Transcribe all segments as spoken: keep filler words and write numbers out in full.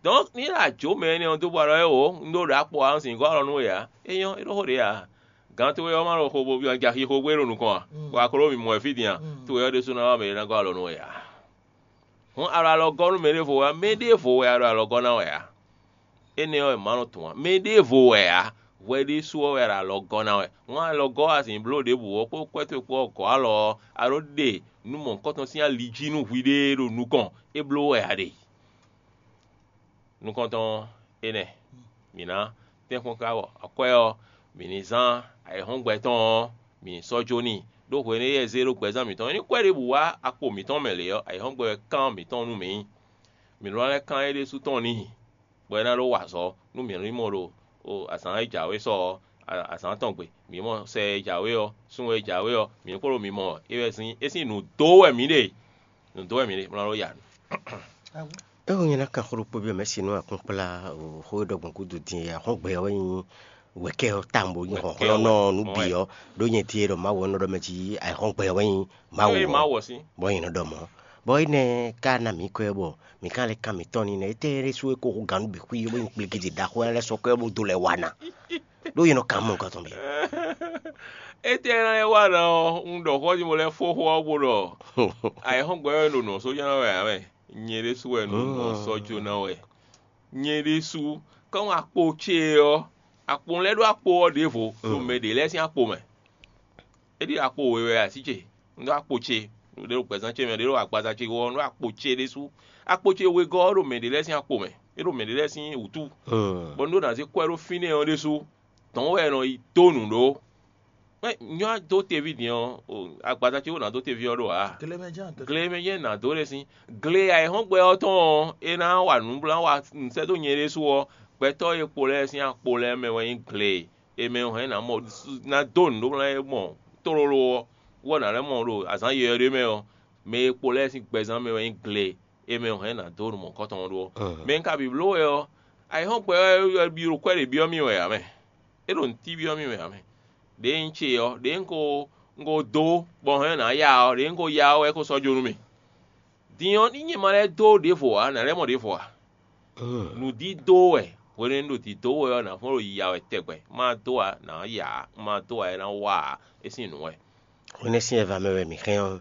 Donc ní ɖo ajǒ mɛ énɛ́ ɔ́ dó bɔ alɔ é wǒ, un ɖó ɖo akpɔ ǎ, un sǐn gɔ́ alɔ nú we ǎ. É nyɔ́, é ɖó xó ɖě ǎ. Gǎn towe ɔ́ ma ɖo xo bo ja xixo gbé ɖo nukɔn a? Bɔ a ko ɖo mimɔ wɛ fí din a? Towe ɔ́ ɖésú ná wá mɛ e ná gɔ́ alɔ nú we ǎ. Hǔn a ɖo alɔ gɔ́ nú mɛ ɖěvo wɛ a? Mɛ ɖěvo wɛ a ɖo alɔ gɔ́ ná wɛ ǎ. Énɛ́ ɔ́, è mǎ nɔ tunwun ǎ. Mɛ ɖěvo wɛ ǎ. Hwɛ ɖésú ɔ́ wɛ a ɖo alɔ gɔ́ ná wɛ. Hǔn alɔ gɔ́ a sǐn bló ɖěbǔ ɔ́ kpó kwɛ́ towe kpó ɔ́ gɔ̌ alɔ ɔ́, a ɖǒ ɖe nǔ mɔ̌hunkɔtɔn sín ali jí nú hwi ɖée ɖo nukɔn, é bló wɛ a ɖe. Nukɔntɔn ɔ́, énɛ́: mǐ ná tɛ́nkpɔ́n káká bɔ akwɛ́ ɔ́, mǐ ní zán ayǐhɔ́ngbe tɔn ɔ́, mǐ ní sɔ́ jó n'i, ɖó hwenu e é zé ɖó gbɛzán mǐtɔn é ní kwɛ́ ɖěbǔ wá akpo mǐtɔn mɛ lě ɔ́, ayǐhɔ́ngbe wɛ kán mǐtɔn nú mǐ. Mǐ ɖó ná lɛ́ kán é ɖésú tɔn n'i, bɔ é ná ɖó wa azɔ̌ nú mǐ ní mɔ ɖo azǎn e jǎwe sɔ ɔ́, azǎn tɔn gbe. Mǐ mɔ sɛ e jǎwe ɔ́, sun e jǎwe ɔ́, mǐ ní kpo ɖo mǐ mɔ wɛ. É wɛ sín é sín nǔ dó wɛ mǐ ɖe. Nǔ dó wɛ mǐ ɖe, bó ná ɖó ya nǔ. É hu nyɛ ná kan xó ɖokpó byɔ́ mɛ̌si nú akpɔ́nkplá xó e ɖɔ gbɔn gúdo din e axɔ́ngbɛ ɔ́ wɛ nyí wɛ̌kɛ́ ɔ́ tawun bó nyí hlɔ̌nhlɔ́nnɔ nú bǐ ɔ́, ɖó nyɛ ɖíe ɖɔ Mawu ɔ́ nɔ ɖɔ mɛ jí axɔ́ngbɛ ɔ́ wɛ nyí Mawu ɔ́. Bɔ nyɛ nɔ ɖɔ mɔ̌. Bɔ énɛ́ ka ná mǐ kwɛ́ bɔ mǐ ka lɛ́ kan mǐtɔn n'i nɛ́. Étɛ́ ɖésú é ko hú gǎn nú bǐ xwí bó nyí kplikiti ɖaxó lɛ́ɛ sɔ́ kwɛ́ bó dó lɛ wa ná? Ɖó yě nɔ kan mɔ nukɔn tɔn bǐ. Étɛ́ ná lɛ́ wa ná ɔ́, un ɖɔ xó ɔ́ jí mo lɛ́ fó xó ɔ́ bó ɖɔ ayǐhɔ́ngbe ɔ́ wɛ ɖo nǔ ɔ́ sɔ́ ná wɛ ǎ mɛ. Nyɛ ɖésú wɛ nǔ ɔ́ sɔ́ jó ná wɛ. Nyɛ ɖésú, kɔ́n akpo ce ɔ́, akpo lɛ́ɛ ɖó akpo ɔ́ ɖěvo ɖo mɛ ɖě lɛ́ɛ sín akpo mɛ. É ɖi akpo we wɛ así ce, un ɖó akpo ce, ɖě ɖo gbɛzán ce mɛ, ɖě ɖo agbaza ce wɔ, un ɖó akpo ce ɖésú. Akpo ce wegɔ́ ɔ́ ɖo mɛ ɖě lɛ́ɛ sín akpo mɛ, é ɖo mɛ ɖě lɛ́ɛ sín wǔtu, bɔ un ɖó ná zé kwɛ́ ɖó fínɛ́ ɔ́ ɖésú. Dɔ̌n wɛ è nɔ yi dó nǔ ɖó. Mɛ nyɔ́ dó teví din ɔ́, agbaza ce wó ná dó teví ɔ́ ɖó ǎ. Gle mɛ jɛ́n ná dó ɖe sín. Gle ayǐhɔ́ngbe ɔ́ tɔn ɔ́, é ná wa nǔ bó ná wa nǔsɛ́ dó nyɛ ɖésú ɔ́, gbɛtɔ́ e kpo lɛ́ɛ sín akpo lɛ́ɛ mɛ wɛ nyí gle e mɛ hɛn ná mɔ ná dó nǔ ɖó ná mɔ tlóló ɔ́, wɔ ná lɛ́ mɔ ɖo azǎn yɔywɛ ɖé mɛ ɔ́, mɛ e kpo lɛ́ɛ sín gbɛzán mɛ wɛ nyí gle e mɛ hɛn ná dó nǔ mɔ̌hunkɔtɔn ɔ́ ɖó ɔ́. Mɛ un ka bǐ bló wɛ ɔ́, ayǐhɔ́ngbe ɔ́ wɛ ɖi ɖo kwɛ́ ɖě byɔ́ mì wɛ ǎ mɛ. É ɖo nǔ tí byɔ́ mì wɛ ǎ mɛ. Ɖěe un ce ɔ́, ɖěe un ko un ko dó bɔ hɛn ná ya ɔ́, ɖěe un ko ya ɔ́ wɛ é ko sɔ́ jó nú mì. Din ɔ́, ní nyɛ ma lɛ́ dó ɖěvo ǎ, nǎ lɛ́ mɔ ɖěvo ǎ. Nǔdídó wɛ, hwenu e un ɖo dǐdó we ɔ́, nǎ fɔ́n ɖo yiya wɛ tɛgbɛ. Má dó ǎ, nǎ ya ǎ; un ma dó ǎ, é ná wa ǎ; é sín nǔ wɛ. Hwenɛ́ sín ɛva mɛ wɛ mǐ hɛn ɔ́,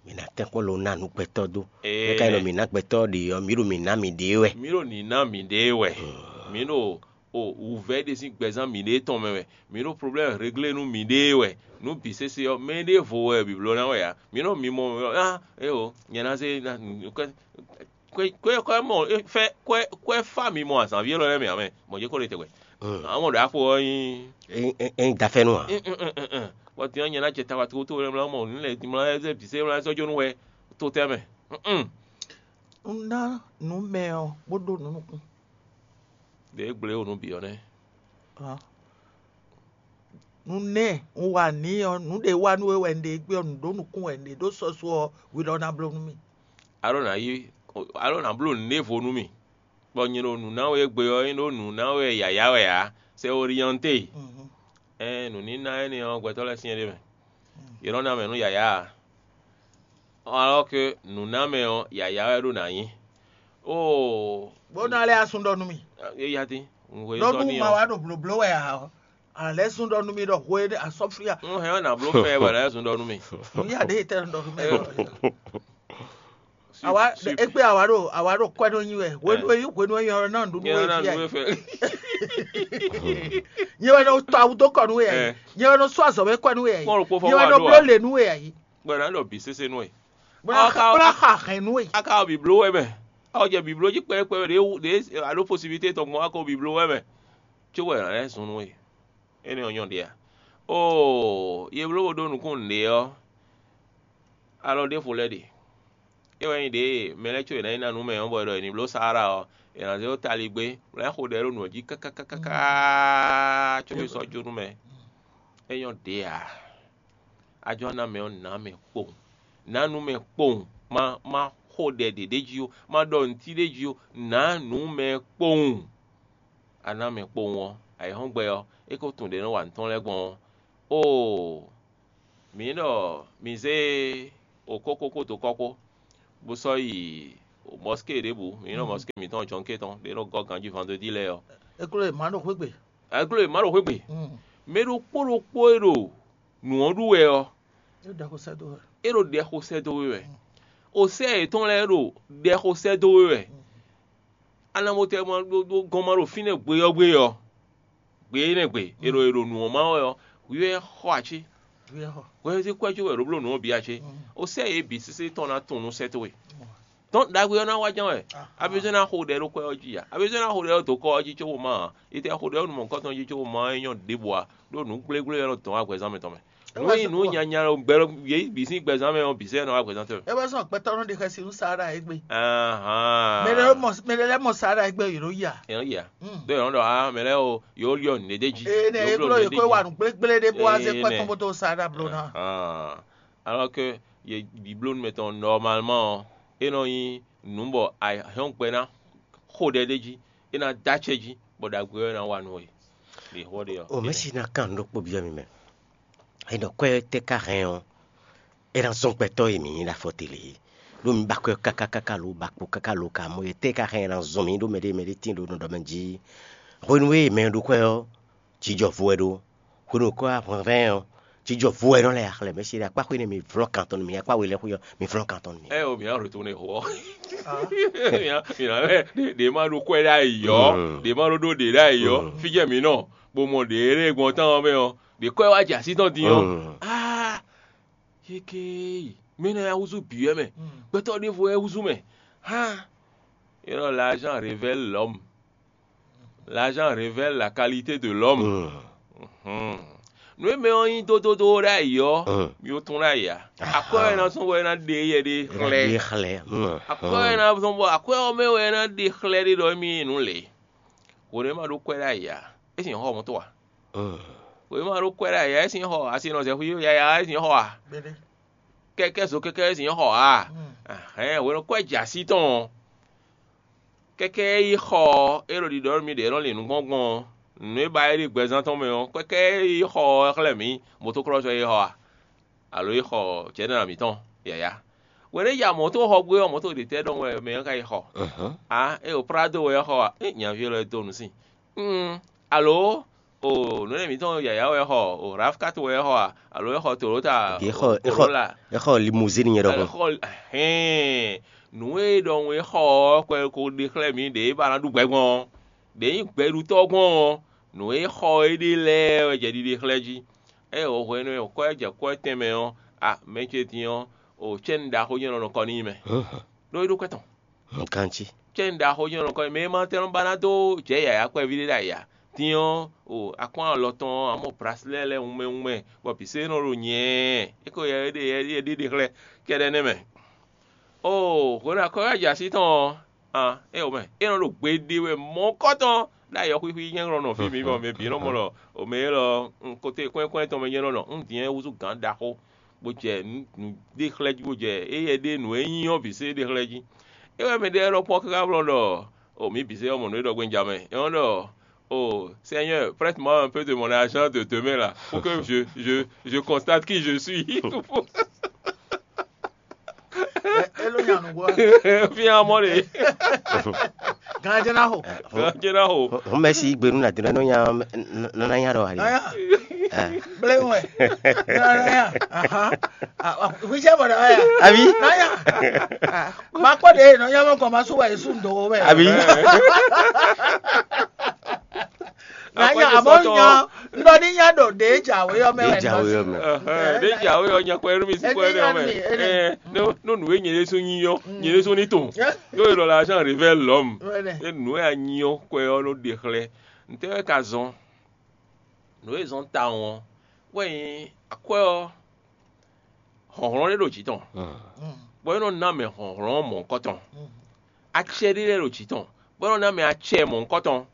mǐ ná tɛ́nkpɔ́n lo ná nǔ gbɛtɔ́ dó. Mɛ ka nyí ɖɔ mǐ ná gbɛtɔ́ ɖě ɔ́, mǐ ɖo mǐ ná mǐɖée wɛ. Mǐ ɖo nǐ ná mǐɖée wɛ. Mǐ ɖo o wǔvɛ́ ɖé sín gbɛzán mǐɖée tɔn mɛ wɛ. Mǐ ɖo problɛ́mu reglé nú mǐɖée wɛ. Nǔ bǐ sésé ɔ́, mɛ ɖěvo wɛ bǐbló ná wɛ ǎ. Mǐ nɔ mimɔ ɔ́, á éwo, nyɛ ná zé ná kwɛ́ kwɛ́ kwɛ́ mɔ fɛ́ kwɛ́ kwɛ́ fá mi mɔ azǎnví élɔ́ lɛ́ɛ mɛ ǎ mɛ, mɔ̌ jɛ kó ɖe tɛgbɛ. Ǎ mɔ ɖo apo ɔ́ nyí É é é nyí dafɛ́nú ǎ. Bɔ din ɔ́, nyɛ ná jɛ tawa togotogo lɛ́ɛ mlá mɔ nǔ lɛ́ɛ din mlá lɛ́ɛ zé bǐ sɛ́ mlá sɔ́ jó nú hwɛ to tɛ́ mɛ. Un ná nǔ mɛ ɔ́ bó ɖó nǔ nukún. Ɖě gblé wo nǔ bǐ ɔ́ nɛ́. Nǔ nɛ́ un wa nǐ ɔ́, nǔ ɖě wa nú we wɛ un ɖe gbé ɔ́, nǔ ɖó nukún wɛ un ɖe ɖó sɔ́sú ɔ́, hwi lɔ ná bló nú mì. Alɔ nǎ yí alɔ nǎ bló nǔɖévo nú mì, bɔ nyɛ ɖo nǔ ná we égbé ɔ́, é ɖó nǔ ná we yǎyá wɛ ǎ. C'est orienté. Ɛɛn, nǔníná énɛ́ ɔ́, gbɛtɔ́ lɛ́ɛ syɛ́n ɖ'é mɛ. Yě nɔ ná mɛ nú yǎyá ǎ. Alors que nǔnámɛ ɔ́, yǎyá wɛ ɖó ná nyí. Oo, Bó ná lɛ́ asún ɖɔ nú mì. É yá dín. Un hwe Nɔ́ sɔ́ bú n'i ma ɔ́. Wá ɖo blǒbló wɛ ǎ ɔ́, a lɛ́ sún ɖɔ nú mì ɖɔ hwe asɔ́fia. Un hɛn ɔ́ nǎ bló fɛ bɔ nǎ zun ɖɔ nú mì. Nú yá ɖě tɛ́ ɖɔ nú mì ɖɔ. Awa égbé awa ɖo awa ɖo kwɛ nɔ nyi wɛ. Hwenu e hwenu e yɔn ná nǔɖuɖu Nyɛ wɛ ná fia. Nú fɛ. Nyɛ wɛ nɔ tɔ awu dó kɔ nú wɛ yɛ. Nyɛ wɛ nɔ sɔ azɔ̌ wɛ kɔ nú wɛ yɛ. Kpɔn ɖokpó fɔ Nyɛ wɛ wá nɔ ɖo bló a? Lě nú wɛ yɛ. Gbɛ́ nǎ ɖɔ bǐ sésé nú wɛ. Bó ná Ɔ́, xa- bó ná xa hɛn nú wɛ. Aka wɔ bǐbló wɛ mɛ. Ɔ jɛ bǐbló jí kpɛɖékpɛɖé ɖě wú ɖě a ɖó posibilité tɔn gbɔn aka wɔ bǐbló wɛ mɛ. Có wɛ nǎ lɛ́ zun nú wɛ. Énɛ́ ɔ́ nyɔ́ ɖě a? Oo, ye bló bo ɖó nukúnnú ɖě ɔ́, alɔ ɖěvo lɛ́ɛ ɖe. É wɛ nyí ɖě mɛ lɛ́ɛ có è nǎ yi ná nǔ mɛ ɔ́, bɔ è ɖɔ è nǐ bló Saála ɔ́, è nǎ zé ɖó taligbé, bó ná xo ɖɛ ɖó nǔ ɔ́ jí káká káká có é sɔ́ jó nú mɛ. É nyɔ́ ɖě ǎ. Ajɔ́ ná mɛ ɔ́, nǎ mɛ kpowun. Nǎ nú mɛ kpowun. Má má xo ɖɛ ɖě ɖ'é jí ó, má ɖɔ nǔtí ɖ'é jí ó, nǎ nǔ mɛ kpowun. A ná mɛ kpowun ɔ́, ayǐhɔ́ngbe ɔ́, é ko tunwun ɖě nɔ wa nǔ tɔn lɛ́ɛ gbɔn ɔ́. Oo, mǐ ɖɔ mǐ zé okókókó dó kɔ́ kpó, bó sɔ́ yi mɔskée ɖěbǔ, mi nyí nɔ mɔskée mǐtɔn jɔnkɛ́ tɔn ɖě nɔ gɔ́ ganjí vandredi lɛ́ɛ ɔ́, é glɔ́ è má ɖo xwé gbe. Mɛ ɖokpó ɖokpó e ɖo nǔ ɔ́ ɖu wɛ ɔ́, é ɖo ɖɛxo sɛ́ dó we wɛ. Osɛ́ yětɔn lɛ́ɛ ɖo ɖɛxo sɛ́ dó we wɛ. Anamotɛ ma ɖó gɔ́n ma ɖo fínɛ́ gbe ɔ́ gbe ɔ́, gbe énɛ́ gbe è ɖo è ɖo nǔ ɔ́ má wɛ ɔ́, hwi wɛ xɔ ací. Hwɛhɛ́zí kwɛ́ cí wɛ ɖó bló nǔ ɔ́ bǐ a cé? Osɛ́ yě bǐ sésé tɔn ná tunwun nú sɛ́ towe. Dɔn ɖagbe ɔ́ ná wá ján wɛ. Abizɔ́ ná xo ɖɛ ɖó kwɛ́ ɔ́ jí a? Abizɔ́ ná xo ɖɛ ɔ́ dó kɔ ɔ́ jí cóbó má a? Itɛ xo ɖɛ ɔ́ nú mɔ̌hunkɔtɔn jí cóbó má é nyɔ́ ɖěbǔ a? Ɖó nǔ gblégblé wɛ nɔ dɔn wá gbɛzán mɛtɔn mɛ. Nǔ e nyí nǔ nyanya gbɛ yě bǐ sín gbɛzán mɛ ɔ́ bǐ sɛ́ nɔ wá gbɛzán tɔn mɛ. É wɛ sɔn gbɛtɔ́ nɔ ɖe xɛsi nú Sara égbé. Mɛ ɖé mɔ mɛ ɖé lɛ́ mɔ Sara égbé yě ɖo ya. È nɔ́ yi a? Ɖó è nɔ́ ɖɔ a mɛ lɛ́ɛ o yǒ yɔ nǔɖé jí. Ee nɛ é glɔ́ yě kó wa nǔ gblégblé ɖé bó wá zé kpɛ́ tɔn bó tó Sara bló ná. Alors que yě biblónu mɛtɔn normalement ɔ́, é nɔ nyí nǔ bɔ a hɛn gbɛ ná xo ɖɛ ɖé jí, é ná dó acɛ jí, bɔ ɖagbe ɔ́ é ná wa nú we. Ɖě xɔ ɖe ɔ́. O mɛ si ná kan nǔ ɖokpó byɔ́ mi mɛ. È nɔ kwɛ́ tɛ́ ka hɛn ɔ́, é ná zɔ́n gbɛtɔ́ e mǐ nyí ɖo afɔ te lě é. Ɖó mi ba kwɛ́ káká káká lo ba kpo káká lo ka mɔ é tɛ́ ka hɛn é ná zɔ́n mǐ ɖó mɛɖé mɛɖé tíin ɖo nɔɖɔmɛ jí. Hwenu e mɛ ɖó kwɛ́ ɔ́, jijɔ vo wɛ ɖó. Hwenu e kwɛ́ wá hwɛnhwɛn ɔ́, jijɔ vo wɛ nɔ lɛ́ axlɛ mɛ se ɖo akpá xwé nɛ mi vlɔ́ kan tɔn nú mi, akpá we lɛ́ xwé ɔ́, mi vlɔ́ kan tɔn nú mi. Ɛ o mǐ nǎ ɖo to nɛ xo ɔ́. Mǐ nǎ mɛ ɖě ma ɖó kwɛ́ ɖ'ayǐ ɔ́, ɖě ma ɖó ɖó ɖě ɖ'ayǐ ɔ́, fí jɛ mǐ nɔ, bó mɔ ɖě e ɖe gbɔn tán ɔ́ mɛ ɔ́, ɖě kɔ́ ɛ wá jɛ así tɔn din ɔ́. Aa, yékéyi, mɛ énɛ́ wɛ húzú bǐ wɛ mɛ, gbɛtɔ́ ɖěvo wɛ húzú mɛ. Hán, é ɖɔ l'argent révèle l'homme. L'argent révèle la qualité de l'homme. Nǔ e mɛ ɔ́ nyí dódódó ɖ'ayǐ ɔ́, mi ó tún ɖ'ayǐ ǎ. Akwɛ́ wɛ ná zɔ́n bɔ é ná ɖe yɛ ɖé xlɛ́. Xlɛ́. Akwɛ́ wɛ ná zɔ́n bɔ akwɛ́ ɔ́ mɛ wɛ é ná ɖe xlɛ́ ɖé ɖɔ émí nyí nǔ lě. Hwenu e ma ɖó kwɛ́ ɖ'ayǐ ǎ, é sin xɔ mɔ̌ to a? Hwenu e ma ɖó kwɛ́ ɖ'ayǐ ǎ, é sin xɔ asi nɔ zɛ xwí yaya ɔ́, é sin xɔ a? Kɛkɛ́ zo kɛkɛ́ é sin xɔ a? Hɛ̌n, hwenu kwɛ́ jɛ así tɔn ɔ́, kɛkɛ́ é yi xɔ ɔ́, é ɖo ɖiɖɔ nú mì ɖě nɔ lin nukɔn gbɔn ɔ́, nǔ e ba é ɖi gbɛzán tɔn mɛ ɔ́, kɛkɛ́ é yi xɔ ɔ́ xlɛ́ mǐ, motokúlɔ́sɔ é xɔ a? Alo é xɔ jɛ̌nɛra mǐtɔn yǎyá? Hwenu e ya mɔ̌ tó xɔ gbé ɔ́, mɔ̌ tó ɖě tɛ́ ɖɔhun wɛ mɛ ɔ́ ka yi xɔ? Ǎ, é ɖo Prado wɛ é xɔ a? É nyaví élɔ́ é dó nǔ sin. Alo o nǔ énɛ́ mǐtɔn yǎyá wɛ é xɔ, o Rafkat wɛ é xɔ a? Alo é xɔ Toyota? Bǐ é xɔ é xɔ Corolla? É xɔ limuzín nyɛ ɖɔhun. Xɔ hɛn nǔ e ɖɔhun é xɔ ɔ́, kɔ ko ɖe xlɛ́ mǐ ɖě ba ná ɖu gbɛ gbɔn ɔ́, ɖě nyí gbɛɖutɔ́ gbɔn ɔ́, nǔ e xɔ é ɖe lɛ́ɛ wɛ jɛ ɖiɖe xlɛ́ jí. Ée o hwenu e wǒ kɔ ɛ jɛ kɔ́ ɛ tɛnmɛ ɔ́, a mɛ ce din ɔ́, o cɛ́nnu ɖaxó nyɛ nɔ nɔ kɔ n'i mɛ, ɖó é ɖó kwɛ́ tɔn. Ganjí. Cɛ́nnu ɖaxó nyɛ nɔ nɔ kɔ n'i mɛ e ma tɛ́ nɔ ba ná dó jɛ yǎyá kpɛví ɖé ɖ'ayǐ ǎ. Din ɔ́, o akpɔ́n alɔ tɔn ɔ́, a mɔ brasilɛ́ lɛ́ɛ wunmɛ wunmɛ, bɔ bǐ sɛ́ nɔ ɖo nyɛ̌ɛ́, é ko yɛ é ɖe é ɖe xlɛ́ kɛ́ɖɛ́ nɛ́ mɛ. Oo, hwenu e akɔ́ wɛ jɛ así tɔn ɔ́, an é wǒ mɛ, é nɔ ɖo gbe ɖe wɛ mɔ̌kɔ́tɔn ɖó ayɔxwíxwí nyɛ́nglɔ́nɔ fí mǐ bɔ mɛ bǐ nɔ mɔ ɖɔ o mɛ élɔ́ un kote kɔ́nnyɛ́kɔ́nnyɛ́ tɔn mɛ nyɛ́ nɔ ɖɔ un din wɛ húzú gǎn ɖaxó, bó jɛ nǔ ɖe xlɛ́ jí, bó jɛ éyɛ́ ɖe nǔ e nyí ɔ́ bǐ sɛ́ ɖe xlɛ́ jí. É wɛ mɛ ɖé lɛ́ɛ ɖɔ kpɔ́n káká blɔ́ ɖɔ o mǐ bǐ sɛ́ ɔ́ mɔ nǔ e ɖɔ gbé un ja mɛ. É nɔ ɖɔ Oh, Seigneur, prête-moi un peu de mon argent de demain là, pour que je, je, je constate qui je suis. Elo nya nugbo. Fia mɔ de. Ganjɛ na ho. Ganjɛ na ho. Homesi gbenu na dina no nya no na nya do ali. Aya. Ble we. Na ya. Aha. Wisha bɔ na ya. Abi. Na ya. Ma kpɔ de no nya mɔ kɔ ma su wa esu ndo wɛ. Abi. Na nya abo nya ndo ni nya do de jawe yɔ mɛ. De jawe yɔ mɛ. De jawe yɔ nya kɔ ɛnu mi si kɔ ɛnu mɛ. Ɛ no no nu ye nyɛ de so nyi yɔ nyɛ de so ni to. Yo yɔ la jean révèle l'homme. E nu ya nyi yɔ kɔ yɔ no de xlɛ. N tɛ wɛ ka zɔn. Nu e zɔn tawun ɔ wɛ nyi akwɛ ɔ. Hlɔ̌nhlɔ́n ɖé ɖo jǐ tɔn, bɔ é nɔ ná mɛ hlɔ̌nhlɔ́n mɔ̌hunkɔtɔn. Acɛ ɖé lɛ́ɛ ɖo jǐ tɔn, bɔ é nɔ ná mɛ acɛ mɔ̌hunkɔtɔn.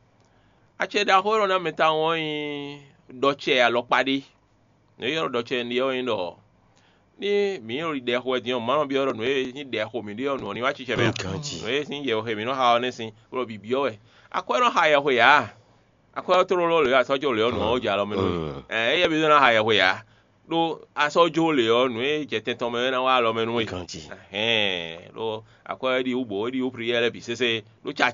Acɛ ɖaxó e nɔ ná mɛ tawun ɔ́ nyí ɖɔcɛ alɔkpa ɖé. Nǔ e ylɔ́ ɖɔ ɖɔcɛ ɖe ɔ́ nyí ɖɔ ní mǐ ɖo ɖi ɖɛ xo wɛ din ɔ́, mǎ nɔ byɔ́ ɖɔ nǔ e nyí ɖɛ xo mǐ ɖe ɔ́, nǔ ɔ́ ní wá cicɛ mɛ ǎ. Nǔ e sín yɛhwe mǐ nɔ xa ɔ́ nɛ́ sín, bó ɖɔ bǐ byɔ́ wɛ. Akwɛ́ nɔ xa yɛhwe ǎ. Akwɛ́ ɔ́ tlóló lě asɔ́ jó lě ɔ́ nǔ ɔ́ jɛ alɔ mɛ nú mì. Ɛɛ éyɛ́ bí zɔ́n ná xa yɛhwe ǎ. ɖó a sɔ́ jó lě ɔ́, nǔ e jɛ tɛn tɔn mɛ é ná wá alɔ mɛ nú we. Ganji. Hɛn ɖó akwɛ́ é ɖi wú bǒ é ɖi wú priyɛ lɛ́ɛ bǐ sésé ɖó ca